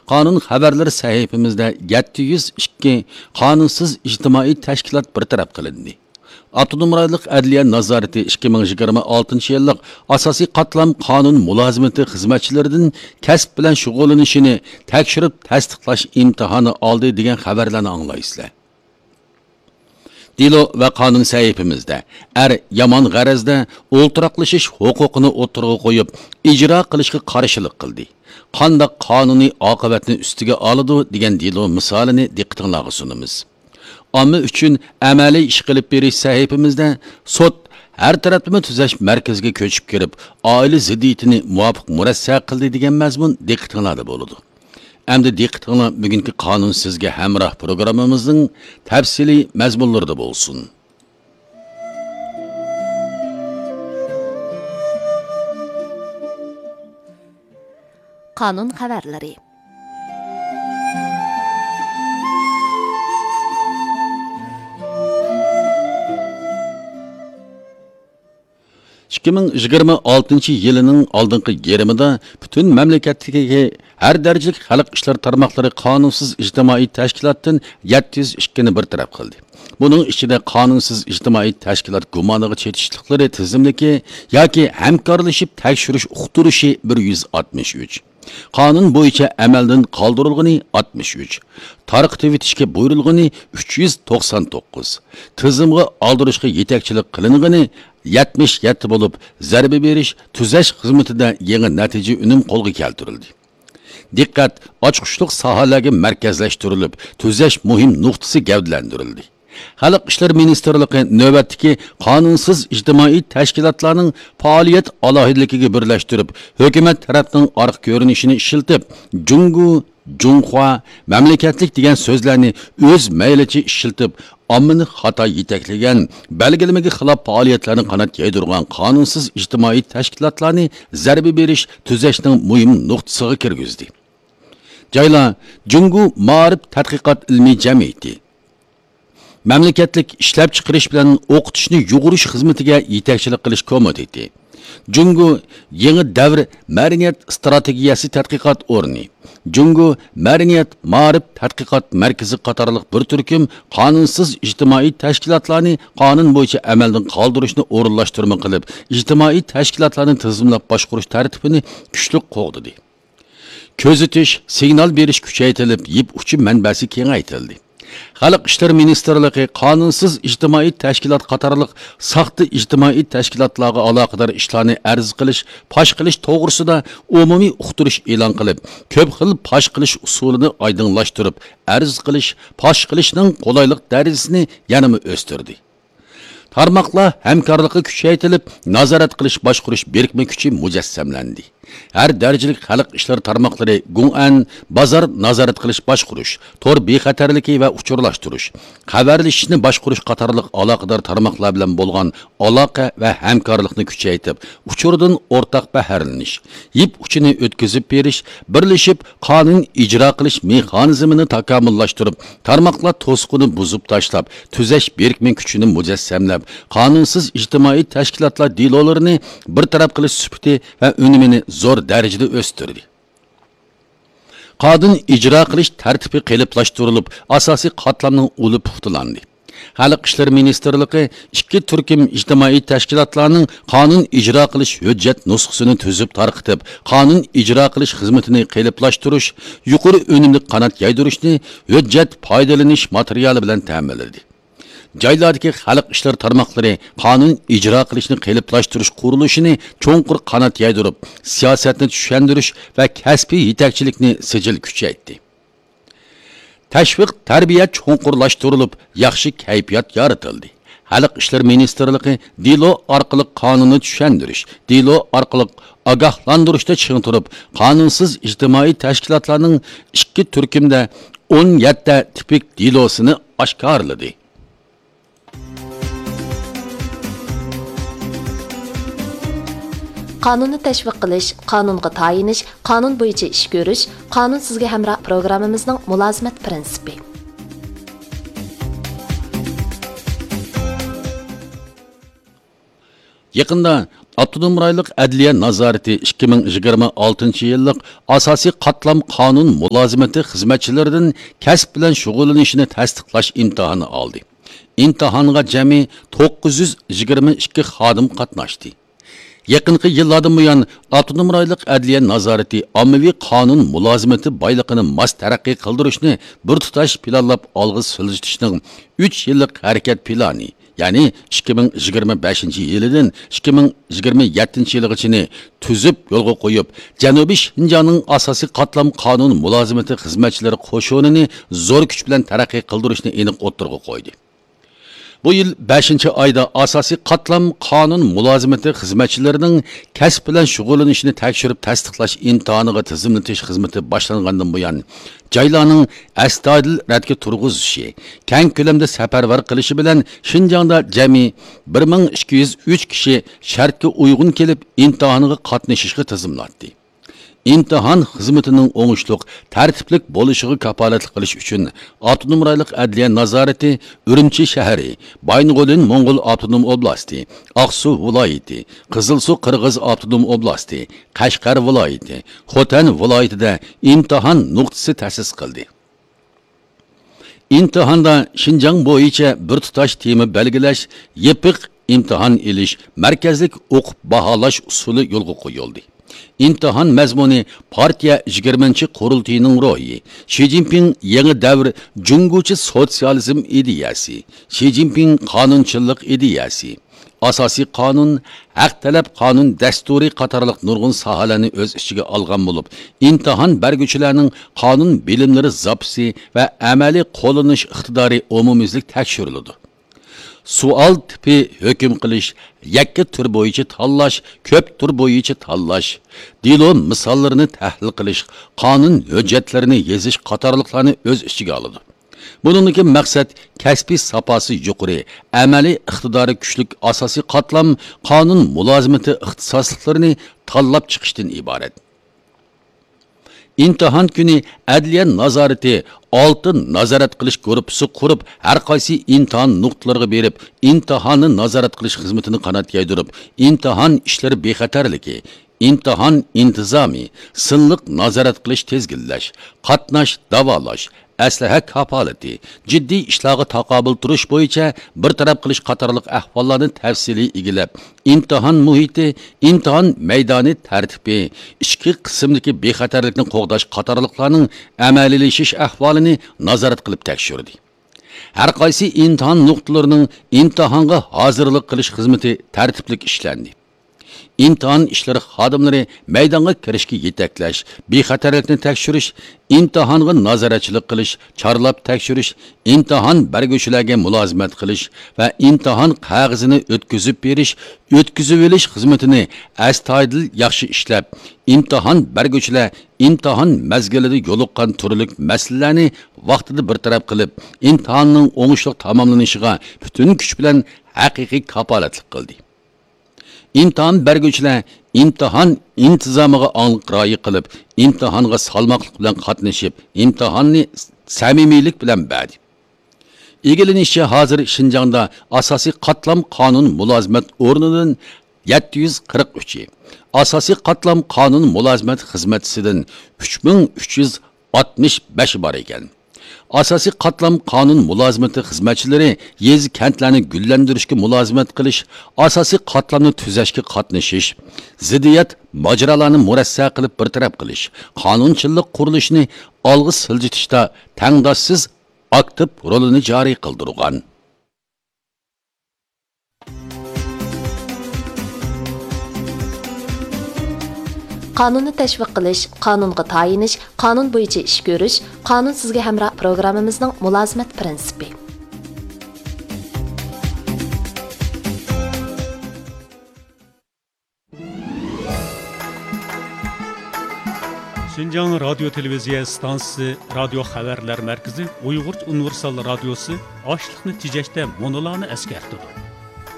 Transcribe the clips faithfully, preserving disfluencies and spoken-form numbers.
قانۇن خەۋەرلىرى سەھىپىمىزدە يەتتە يۈز ئىككى قانۇنسىز ئىجتىمائىي تەشكىلات بىر تەرەپ قىلىندى. ئاپتونوم رايونلۇق ئەدلىيە نازارىتى ئىككى مىڭ يىگىرمە ئالتىنچى يىللىق ئاساسىي قاتلام قانۇن مۇلازىمىتى خىزمەتچىلىرىدىن كەسىپ بىلەن شۇغۇللىنىشىنى تەكشۈرۈپ تەستىقلاش ئىمتىھانى ئالدى دېگەن خەۋەرلەرنى ئاڭلايسىلەر. دېلو ۋە قانۇن سەھىپىمىزدە ئەر يامان غەرەزدە ئولتۇراقلىشىش ھوقۇقىنى ئوتتۇرىغا قويۇپ، ئىجرا قىلىشقا قارشىلىق قىلدى. قانداق قانۇنىي ئاقىۋەتنى ئۈستىگە ئالىدۇ دېگەن دېلو مىسالىنى دىققىتىڭلارغا سۇنىمىز. ئامما ئۈچۈن ئەمەلىي ئىش قىلىپ بېرىش سەھىپىمىزدە سوت ھەر تەرەپلىمە تۈزەش مەركىزىگە كۆچۈپ كىرىپ، ئائىلە زىددىيىتىنى مۇۋاپىق مۇرەسسە قىلدى دېگەن مەزمۇن دىققىتىڭلاردا بولىدۇ. ئەمدى دىققىتىڭلار بۈگۈنكى قانۇن سىزگە ھەمراھ پروگراممىمىزنىڭ تەپسىلىي مەزمۇنلىرىدا بولسۇن. قانۇن خەۋەرلىرى. ئىككى مىڭ يىگىرمە ئالتىنچى يىلىنىڭ ئالدىنقى يېرىمىدا پۈتۈن مەملىكەتتىكى ھەر دەرىجىلىك خەلق ئىشلىرى تارماقلىرى قانۇنسىز ئىجتىمائىي تەشكىلاتتىن يەتتە يۈز ئىككىنى بىر تەرەپ قىلدى. بۇنىڭ ئىچىدە قانۇنسىز ئىجتىمائىي تەشكىلات گۇمانىغا چېتىشلىقلىرى تىزىملىكى ياكى ھەمكارلىشىپ تەكشۈرۈش ئۇقتۇرۇشى بىر يۈز ئاتمىش ئۈچ، قانۇن بويىچە ئەمەلدىن قالدۇرۇلغىنى ئاتمىش ئۈچ، تارقىتىۋېتىشكە بۇيرۇلغىنى ئۈچ يۈز توقسان توققۇز، تىزىمغا ئالدۇرۇشقا يېتەكچىلىك قىلىنغىنى يەتمىش يەتتە بولۇپ، زەربە بېرىش، تۈزەش خىزمىتىدە يېڭى نەتىجە ئۈنۈم قولغا كەلتۈرۈلدى. دىققەت ئاچقۇچلۇق ساھەلەرگە مەركەزلەشتۈرۈلۈپ، تۈزەش مۇھىم نۇقتىسى گەۋدىلەندۈرۈلدى. خەلق ئىشلىرى مىنىستىرلىقى نۆۋەتتىكى قانۇنسىز ئىجتىمائىي تەشكىلاتلارنىڭ پائالىيەت ئالاھىدىلىكىگە بىرلەشتۈرۈپ، ھۆكۈمەت تەرەپنىڭ ئارقا كۆرۈنۈشىنى ئىشلىتىپ، جۇڭگو، جۇڭخۇا، مەملىكەتلىك دېگەن سۆزلەرنى ئۆز مەيلىچە ئىشلىتىپ، ئاممىنى خاتا يېتەكلىگەن، بەلگىلىمىگە خىلاپ پائالىيەتلەرنى قانات يايدۇرغان قانۇنسىز ئىجتىمائىي تەشكىلاتلارنى زەربە بېرىش، تۈزەشنىڭ مۇھىم نۇقتىسىغا كىرگۈزدى. جايلار جۇڭگو مائارىپ تەتقىقات ئىلمىي جەمئىيىتى، مەملىكەتلىك ئىشلەپچىقىرىش بىلەن ئوقۇتۇشنى يۇغۇرۇش خىزمىتىگە يېتەكچىلىك قىلىش كومىتېتى، جۇڭگو يېڭى دەۋر مەدەنىيەت ئىستراتېگىيەسى تەتقىقات ئورنى، جۇڭگو مەدەنىيەت مائارىپ تەتقىقات مەركىزى قاتارلىق بىر تۈركۈم قانۇنسىز ئىجتىمائىي تەشكىلاتلارنى قانۇن بويىچە ئەمەلدىن قالدۇرۇشنى ئورۇنلاشتۇرما قىلىپ، ئىجتىمائىي تەشكىلاتلارنى تىزىملاپ باشقۇرۇش تەرتىپىنى كۈچلۈك قوغدىدى. كۆزىتىش، سىگنال بېرىش كۈچەيتىلىپ، يىپ ئۇچى مەنبەسى كېڭەيتىلدى. خەلق ئىشلىرى مىنىستىرلىقى قانۇنسىز ئىجتىمائىي تەشكىلات قاتارلىق ساختا ئىجتىمائىي تەشكىلاتلارغا ئالاقىدار ئىشلارنى ئەرز قىلىش، پاش قىلىش توغرىسىدا ئومۇمىي ئۇقتۇرۇش ئېلان قىلىپ، كۆپ خىل پاش قىلىش ئۇسۇلىنى ئايدىڭلاشتۇرۇپ، ئەرز قىلىش، پاش قىلىشنىڭ قولايلىق دەرىجىسىنى يەنىمۇ ئۆستۈردى. تارماقلار ھەمكارلىقى كۈچەيتىلىپ، نازارەت قىلىش باشقۇرۇش بىرىكمە كۈچى مۇجەسسەملەندى. ھەر دەرىجىلىك خەلق ئىشلىرى تارماقلىرى گۇڭئەن، بازار نازارەت قىلىش باشقۇرۇش، تور بىخەتەرلىكى ۋە ئۇچۇرلاشتۇرۇش، خەۋەرلىشىشنى باشقۇرۇش قاتارلىق ئالاقىدار تارماقلار بىلەن بولغان ئالاقە ۋە ھەمكارلىقنى كۈچەيتىپ، ئۇچۇردىن ئورتاق بەھرىلىنىش، يىپ ئۇچىنى ئۆتكۈزۈپ بېرىش، بىرلىشىپ قانۇن ئىجرا قىلىش مېخانىزمىنى تاكامۇللاشتۇرۇپ، تارماقلار توسۇقىنى بۇزۇپ تاشلاپ، تۈزەش بىرىكمە كۈچىنى مۇجەسسەملەپ، قانۇنسىز ئىجتىمائىي تەشكىلاتلار دېلولىرىنى بىر تەرەپ قىلىش سۈپىتى ۋە ئۈنۈمىنى زور دەرىجىدە ئۆستۈردى. قانۇن ئىجرا قىلىش تەرتىپى قېلىپلاشتۇرۇلۇپ، ئاساسىي قاتلامنىڭ ئۇلى پۇختىلاندى. خەلق ئىشلىرى مىنىستىرلىقى ئىككى تۈركۈم ئىجتىمائىي تەشكىلاتلارنىڭ قانۇن ئىجرا قىلىش ھۆججەت نۇسخىسىنى تۈزۈپ تارقىتىپ، قانۇن ئىجرا قىلىش خىزمىتىنى قېلىپلاشتۇرۇش، يۇقىرى ئۈنۈملۈك قانات يايدۇرۇشنى ھۆججەت پايدىلىنىش ماتېرىيالى بىلەن تەمىنلىدى. جايلاردىكى خەلق ئىشلىرى تارماقلىرى قانۇن ئىجرا قىلىشنى قېلىپلاشتۇرۇش قۇرۇلۇشىنى چوڭقۇر قانات يايدۇرۇپ، سىياسەتنى چۈشەندۈرۈش ۋە كەسپىي يېتەكچىلىكنى سىجىل كۈچەيتتى. تەشۋىق تەربىيە چوڭقۇرلاشتۇرۇلۇپ، ياخشى كەيپىيات يارىتىلدى. خەلق ئىشلىرى مىنىستىرلىقى دېلو ئارقىلىق قانۇننى چۈشەندۈرۈش، دېلو ئارقىلىق ئاگاھلاندۇرۇشتا چىڭ تۇرۇپ، قانۇنسىز ئىجتىمائىي تەشكىلاتلارنىڭ ئىككى تۈركۈمدە ئون يەتتە تىپىك دېلوسىنى ئاشكارىلىدى. قانۇننى تەشۋىق قىلىش، قانۇنغا تايىنىش، قانۇن بويىچە ئىش كۆرۈش، قانۇن سىزگە ھەمراھ پروگراممىمىزنىڭ مۇلازىمەت پىرىنسىپى. يېقىندا ئاپتونوم رايونلۇق ئەدلىيە نازارىتى ئىككى مىڭ يىگىرمە ئالتىنچى يىللىق ئاساسىي قاتلام قانۇن مۇلازىمىتى خىزمەتچىلىرىدىن كەسىپ بىلەن شۇغۇللىنىشىنى تەستىقلاش ئىمتىھانى ئالدى. ئىمتىھانغا جەمئىي توققۇز يۈز يىگىرمە ئىككى خادىم قاتناشتى. يېقىنقى يىللاردىن بۇيان، ئاپتونوم رايونلۇق ئەدلىيە نازارىتى ئاممىۋى قانۇن مۇلازىمىتى بايلىقىنى ماس تەرەققىي قىلدۇرۇشنى بىر تۇتاش پىلانلاپ ئالغا سىلجىتىشنىڭ ئۈچ يىللىق ھەرىكەت پىلانى، يەنى ئىككى مىڭ يىگىرمە بەشىنچى يىلىدىن ئىككى مىڭ يىگىرمە يەتتىنچى يىلىغىچىنى تۈزۈپ يولغا قويۇپ، جەنۇبىي شىنجاڭنىڭ ئاساسىي قاتلام قانۇن مۇلازىمىتى خىزمەتچىلىرى قوشۇنىنى زور كۈچ بىلەن تەرەققىي قىلدۇرۇشنى ئېنىق ئوتتۇرىغا قويدى. بۇ يىل بەشىنچى ئايدا ئاساسىي قاتلام قانۇن مۇلازىمىتى خىزمەتچىلىرىنىڭ كەسىپ بىلەن شۇغۇللىنىشىنى تەكشۈرۈپ تەستىقلاش ئىمتىھانىغا تىزىملىتىش خىزمىتى باشلانغاندىن بۇيان، جايلارنىڭ ئەستايىدىل رەتكە تۇرغۇزۇشى، كەڭ كۆلەمدە سەپەرۋەر قىلىشى بىلەن شىنجاڭدا جەمئىي بىر مىڭ ئىككى يۈز ئۈچ كىشى شەرتكە ئۇيغۇن كېلىپ ئىمتىھانغا قاتنىشىشقا تىزىملاتتى. ئىمتىھان خىزمىتىنىڭ ئوڭۇشلۇق، تەرتىپلىك بولۇشىغا كاپالەتلىك قىلىش ئۈچۈن، ئاپتونوم رايونلۇق ئەدلىيە نازارىتى ئۈرۈمچى شەھىرى، بايىنغولىن موڭغۇل ئاپتونوم ئوبلاستى، ئاقسۇ ۋىلايىتى، قىزىلسۇ قىرغىز ئاپتونوم ئوبلاستى، قەشقەر ۋىلايىتى، خوتەن ۋىلايىتىدە ئىمتىھان نۇقتىسى تەسىس قىلدى. ئىمتىھاندا شىنجاڭ بويىچە بىر تۇتاش تېما بەلگىلەش، يېپىق ئىمتىھان ئېلىش، مەركەزلىك ئوقۇپ باھالاش ئۇسۇلى يولغا قويۇلدى. ئىمتىھان مەزمۇنى پارتىيە يىگىرمىنچى قۇرۇلتىيىنىڭ روھى، شى جىنپىڭ يېڭى دەۋر جۇڭگوچە سوتسىيالىزم ئىدىيەسى، شى جىنپىڭ قانۇنچىللىق ئىدىيەسى، ئاساسىي قانۇن، ھەق تەلەپ قانۇن دەستۇرى قاتارلىق نۇرغۇن ساھەلەرنى ئۆز ئىچىگە ئالغان بولۇپ، ئىمتىھان بەرگۈچىلەرنىڭ قانۇن بىلىملىرى زاپىسى ۋە ئەمەلىي قوللىنىش ئىقتىدارى ئومۇميۈزلۈك تەكشۈرۈلىدۇ. سوئال تىپى ھۆكۈم قىلىش، يەككە تۈر بويىچە تاللاش، كۆپ تۈر بويىچە تاللاش، دېلو مىساللىرىنى تەھلىل قىلىش، قانۇن ھۆججەتلىرىنى يېزىش قاتارلىقلارنى ئۆز ئىچىگە ئالىدۇ. بۇنىڭدىكى مەقسەت كەسپىي ساپاسى يۇقىرى، ئەمەلىي ئىقتىدارى كۈچلۈك ئاساسىي قاتلام قانۇن مۇلازىمىتى ئىختىساسلىقلىرىنى تاللاپ چىقىشتىن ئىبارەت. ئىمتىھان كۈنى ئەدلىيە نازارىتى ئالتە نازارەت قىلىش گۇرۇپپىسى قۇرۇپ، ھەر قايسى ئىمتىھان نۇقتىلىرىغا بېرىپ، ئىمتىھاننى نازارەت قىلىش خىزمىتىنى قانات يايدۇرۇپ، ئىمتىھان ئىشلىرى بىخەتەرلىكى، ئىمتىھان ئىنتىزامى، سىنلىق نازارەت قىلىش، تىزگىنلەش، قاتناش، داۋالاش، ئەسلىھە كاپالىتى، جىددىي ئىشلارغا تاقابىل تۇرۇش بويىچە بىر تەرەپ قىلىش قاتارلىق ئەھۋاللارنى تەپسىلىي ئىگىلەپ، ئىمتىھان مۇھىتى، ئىمتىھان مەيدانى تەرتىپى، ئىچكى قىسىمدىكى بىخەتەرلىكنى قوغداش قاتارلىقلارنىڭ ئەمەلىيلىشىش ئەھۋالىنى نازارەت قىلىپ تەكشۈردى. ھەر قايسى ئىمتىھان نۇقتىلىرىنىڭ ئىمتىھانغا ھازىرلىق قىلىش خىزمىتى تەرتىپلىك ئىشلەندى. ئىمتىھان ئىشلىرى خادىملىرى مەيدانغا كىرىشكە يېتەكلەش، بىخەتەرلىكنى تەكشۈرۈش، ئىمتىھانغا نازارەتچىلىك قىلىش، چارلاپ تەكشۈرۈش، ئىمتىھان بەرگۈچىلەرگە مۇلازىمەت قىلىش ۋە ئىمتىھان قەغىزىنى ئۆتكۈزۈپ بېرىش، ئۆتكۈزۈۋېلىش خىزمىتىنى ئەستايىدىل ياخشى ئىشلەپ، ئىمتىھان بەرگۈچىلەر ئىمتىھان مەزگىلىدە يولۇققان تۈرلۈك مەسىلىلەرنى ۋاقتىدا بىر تەرەپ قىلىپ، ئىمتىھاننىڭ ئوڭۇشلۇق تاماملىنىشىغا پۈتۈن كۈچ بىلەن ھەقىقىي كاپالەتلىك قىلدى. ئىمتىھان بەرگۈچىلەر ئىمتىھان ئىنتىزامىغا ئاڭلىق رىئايە قىلىپ، ئىمتىھانغا سالماقلىق بىلەن قاتنىشىپ، ئىمتىھاننى سەمىمىيلىك بىلەن بەردى. ئىگىلىنىشىچە، ھازىر شىنجاڭدا ئاساسىي قاتلام قانۇن مۇلازىمەت ئورنىدىن يەتتە يۈز قىرىق ئۈچى، ئاساسىي قاتلام قانۇن مۇلازىمەت خىزمەتچىسىدىن ئۈچ مىڭ ئۈچ يۈز ئاتمىش بەشى بار ئىكەن. ئاساسىي قاتلام قانۇن مۇلازىمىتى خىزمەتچىلىرى يېزا، كەنتلەرنى گۈللەندۈرۈشكە مۇلازىمەت قىلىش، ئاساسىي قاتلامنى تۈزەشكە قاتنىشىش، زىددىيەت ماجىرالارنى مۇرەسسە قىلىپ بىر تەرەپ قىلىش، قانۇنچىللىق قۇرۇلۇشىنى ئالغا سىلجىتىشتا تەڭداشسىز ئاكتىپ رولىنى جارى قىلدۇرغان. قانۇننى تەشۋىق قىلىش، قانۇنغا تايىنىش، قانۇن بويىچە ئىش كۆرۈش، قانۇن سىزگە ھەمراھ پروگراممىمىزنىڭ مۇلازىمەت پىرىنسىپى. شىنجاڭ رادىيو تېلېۋىزىيە ئىستانسىسى رادىيو خەۋەرلەر مەركىزى ئۇيغۇرچە ئۇنىۋېرسال رادىيوسى ئاشلىقنى تېجەشتە مۇنۇلارنى ئەسكەرتىدۇ.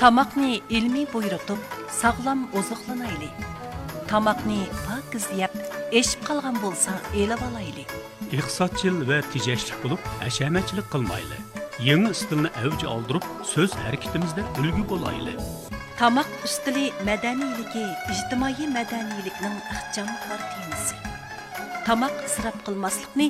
تاماقنى ئىلمىي بۇيرۇتۇپ، ساغلام ئوزۇقلىنايلى. تاماقنى پاكىز يەپ، ئېشىپ قالغان بولسا ئېلىۋالايلى. ئىقتىسادچىل ۋە تېجەشلىك بولۇپ، ھەشەمەتچىلىك قىلمايلى. يېڭى ئىستىلنى ئەۋج ئالدۇرۇپ، سۆز ھەرىكىتىمىزدە ئۈلگە بولايلى. تاماق ئۈستىلى مەدەنىيلىكى ئىجتىمائىي مەدەنىيلىكنىڭ ئىخچام قارا تېمىسى. تاماق ئىسراپ قىلماسلىقنى